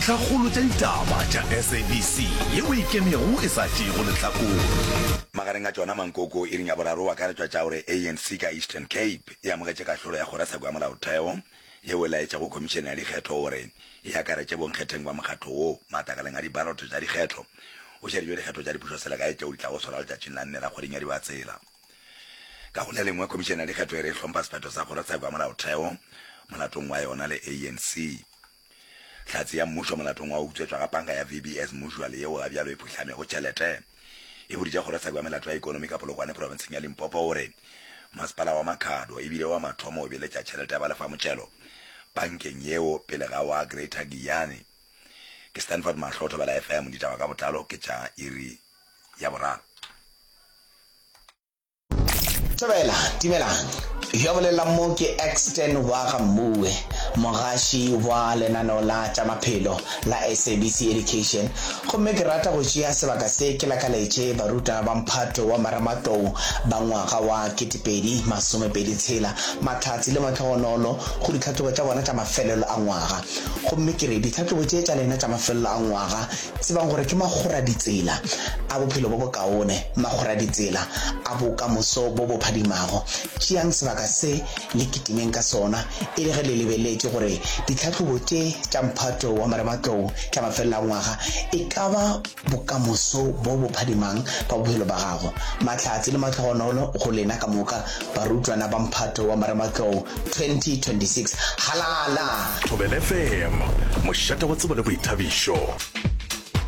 Dintlhakgolo tša ditaba tša SABC yeo e ikemego e sa tšeego lehlakore. Magareng a tšona mankoko iring ya boraro o akaretšwa tša gore ANC ka Eastern Cape e amogetše kahlolo ya kgorotsheko ya molaotheo yeo e laetšego khomišene ya dikgetho gore e akaretše bonkgetheng ba mokgatlo wo matlakaleng a dibaloto tša dikgetho go šeditšwe dikgetho tša dipušoselegae tšeo di tlago swarwa letšatšing la nne la kgweding ya Dibatsela. Ka go le lengwe, Khomišene ya Dikgetho e re e hlompha sephetho sa Kgorotsheko ya Molaotheo molatong wa yona le ANC. Hlatse ya mmušo molatong wa go utswetšwa ga panka ya VBS Mutual yeo ga bjalo e phuhlamego tšhelete e boditše Kgorotsheko ya Melato ya Ikonomi ka Polokwane profenseng ya Limpopo gore masepala wa Makhado e bile wa mathomo go beeletša tšhelete ya balefamotšhelo pankeng yeo pele ga wa Greater Giyani. Ke Stanford Mahlo, Thobela FM, ditaba ka botlalo ke tša iri ya boraro. Thobela, dumelang. Yo a bolelang mo ke Exton wa ga Mmuwe, mogaši wa lenaneo la tša maphelo la SABC Education. Gomme ke rata go tšea sebaka se ke lakaletše barutwana ba mphato wa marematlou ba ngwaga wa 2026 mahlatse le mahlogonolo go ditlhahlobo tša bona tša mafelelo a ngwaga. Gomme ke re ditlhahlobo tše tša lena tša mafelelo a ngwaga Tsebang gore ke makgoraditsela a bophelo bo bokaone, makgoraditsela a bokamoso bo bo phadimago. Tšeang sebaka se le kitimeng ka sona e le ge le lebeletše gore ditlhahlobo tše tša mphato wa marematlou tša mafelelo a ngwaga e ka ba bokamoso bo bo phadimang ba bophelo ba gago. Mahlatse le mahlogonolo go lena ka moka barutwana ba mphato wa marematlou 2026. Halala! Thobela FM, mošate wa tsebo le boithabišo.